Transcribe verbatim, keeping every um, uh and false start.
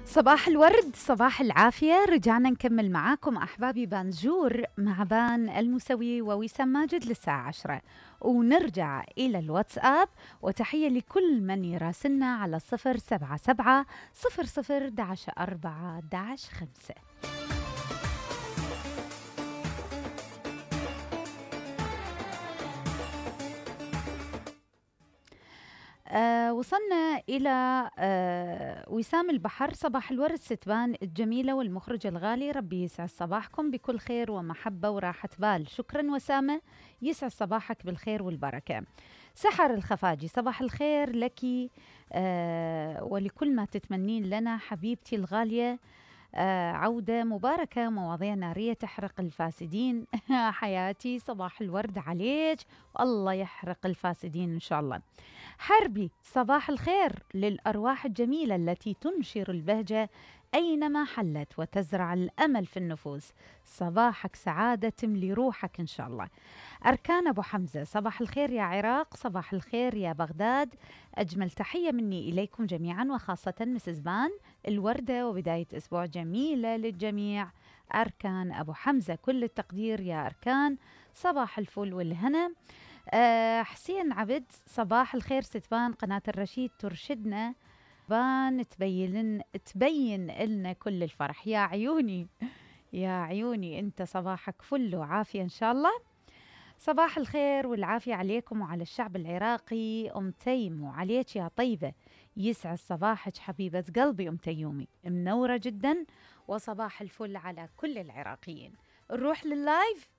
صباح الورد، صباح العافية. رجعنا نكمل معاكم أحبابي بانجور مع بان المسوي ووسام ماجد للساعة عشرة، ونرجع إلى الواتساب. وتحية لكل من يراسلنا على صفر سبعة سبعة صفر صفر داش أربعة داش خمسة. آه وصلنا إلى آه وسام البحر. صباح الورد ستبان الجميلة والمخرج الغالي، ربي يسعد صباحكم بكل خير ومحبة وراحة بال. شكرا وسامة، يسعد صباحك بالخير والبركة. سحر الخفاجي، صباح الخير لك آه ولكل ما تتمنين لنا حبيبتي الغالية. آه عودة مباركة، مواضيع نارية تحرق الفاسدين. حياتي صباح الورد عليك، والله يحرق الفاسدين إن شاء الله. حربي، صباح الخير للأرواح الجميلة التي تنشر البهجة أينما حلت وتزرع الأمل في النفوس. صباحك سعادة تملي روحك إن شاء الله. أركان أبو حمزة، صباح الخير يا عراق، صباح الخير يا بغداد. أجمل تحية مني إليكم جميعا، وخاصة مسز بان الوردة، وبداية أسبوع جميلة للجميع. أركان أبو حمزة، كل التقدير يا أركان، صباح الفل والهنا. أه حسين عبد، صباح الخير ستبان، قناة الرشيد ترشدنا بان تبين تبين لنا كل الفرح. يا عيوني يا عيوني، انت صباحك فل وعافية ان شاء الله. صباح الخير والعافية عليكم وعلى الشعب العراقي. أم تيم، وعليك يا طيبة، يسعد صباحك حبيبة قلبي أم تيومي، منورة جدا، وصباح الفل على كل العراقيين. نروح لللايف.